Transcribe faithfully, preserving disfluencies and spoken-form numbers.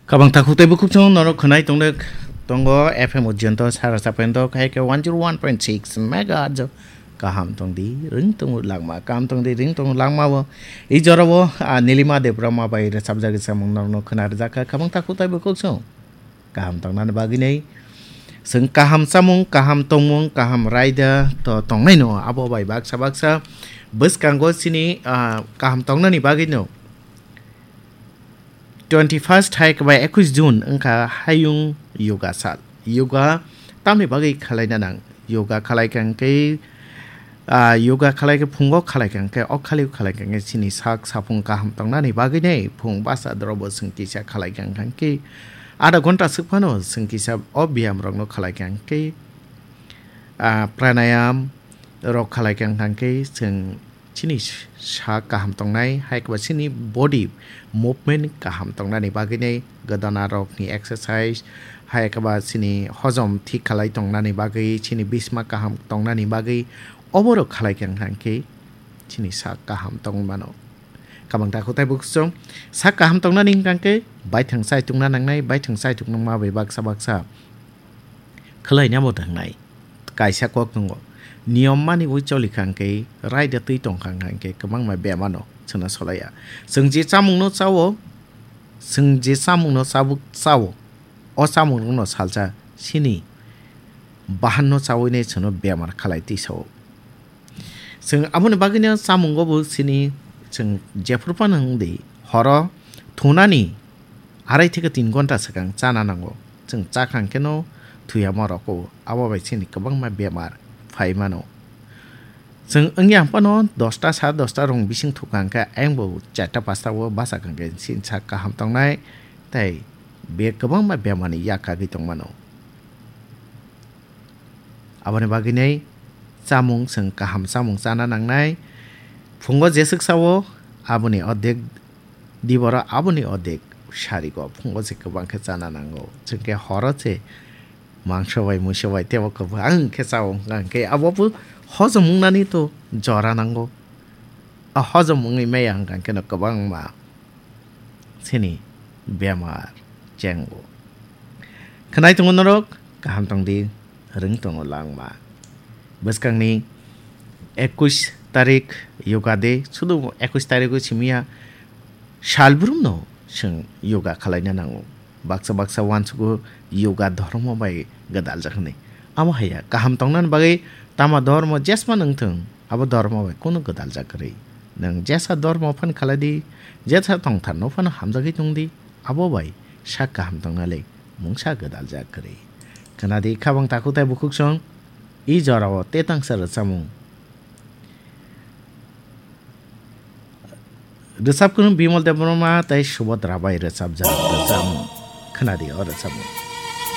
Kabang takhuk tei bukhuk chwng norok khwnai tongdek tongo F M Ujjayanto sara sapendo khai khe one zero one point six megahertz. Kaham tongdi, ring tongo langma, kaham tongdi, ring tongo langma bo. I jora bo, ah, Nilima Debbarma bai rwchapjak samung norokno khwna rwjak kha. Kabang takhuk tei bukhuk chwng kaham tongnani bagwi nei. Chwng kaham chamung, kaham tongmung, kaham raida to tongnai no. Abo bai baksa baksa bwskango chini, ah, kaham tongnani bagwi no. Twenty first hai khe bai ekush June wngkha hayung yoga sal. Yoga tamni bagwi khwlaina nang? Yoga khwlai kha hwnkhe, ah, yoga khwlai khe phungo khwlai kha hwnkhe, o khali khwlai kha hwnkhe chini sak saphung kaham tongnani bagwi nei phung basa dorobo chwng kisa khwlai kha hwnkhe, adha ghonta swk phano chwng kisa o biyam rokno khwlai kha hwnkhe, ah, pranayam rok khwlai kha hwnkhe chwng chini sak kaham tongnai, hai khe ba chini body movement kaham tongnani bagwi nei, godana rokni exercise, hai khe ba chini hojom thik khalai tongnani bagwi, chini bisma kaham tongnani bagwi, oborok khalai kha hwnkhe chini sak kaham tongwi mano. Kabang takhuk tei bukhuk chwng sak kaham tongnani hwnkhe baithang chai tongna nangnai, baithang chai tongma bai baksa baksa khwlainabo thangnai. Kaisa kok tongo. Niyom mani ui choli kha hwnkhe, raida twi tong kha hwnkhe kwbangma bemar no chwngno solaiya. Chwng je chamungno chao, chwng je chamungno chabuk chao, o chamungrokno salsa chini bahanno chaui nai chwngno bemar khalai twi sao. Chwng aboni bagwino chamungo bo chini chwng jephru phano wng di, horo thunani arai theke tin ghonta swkang chana nango. Chwng chakha hwnkhe no thuyama roko, abo bai chini kwbangma bemar phai mano. Chwng wngya phano dosta, sare dosta rong bising thukha hwnkhe ayang bo charta pasta o bachakha hwnkhe chini sak kaham tongnai tei be kwbangma bemarni yak kagwi tongmano. Aboni bagwinai chamung chwng kaham chamung chana nangnai. Phungo jeswk sao, aboni ordek diboro, aboni ordek sarigo. Phungo se kwbang khe chana nango. Chwngkhe horo se mangso bai, muiso bai tebo kwbang khe chao wngkha hwnkhe, abo bo hojom wngnani to jora nango. A hojom wngwi maya hwnkha hwnkhe no kwbangma chini bemar chengo. Khwnai tongo norok, kaham tongdi, rwng tongo langma. Bwskangni ekush tarik yoga day, sudu ekush tarik o simiya salbrumno chwng yoga khwlaina nango. Baksa baksa uansugo yoga dhormo bai gwdaljak hwnwi. Amo haiya, kaham tongnani bagwi tama dhormo jesma nangthwng, abo dhormo bai kunu gwdaljak kwrwi. Nwng jesa dhormo phan khalai di, jesa tongthar no phano hamjagwi tong di, abo bai sak kaham tongna le mungsa gwdaljak kwrwi. Khna di khabang takhuk tei bukhuk song, i jorao tetangsa rwchapmung. Rwchapkung Bimal Debbarma tei Subhadra bai rwchapjak rwchapmung. Khna di o rwchapmung.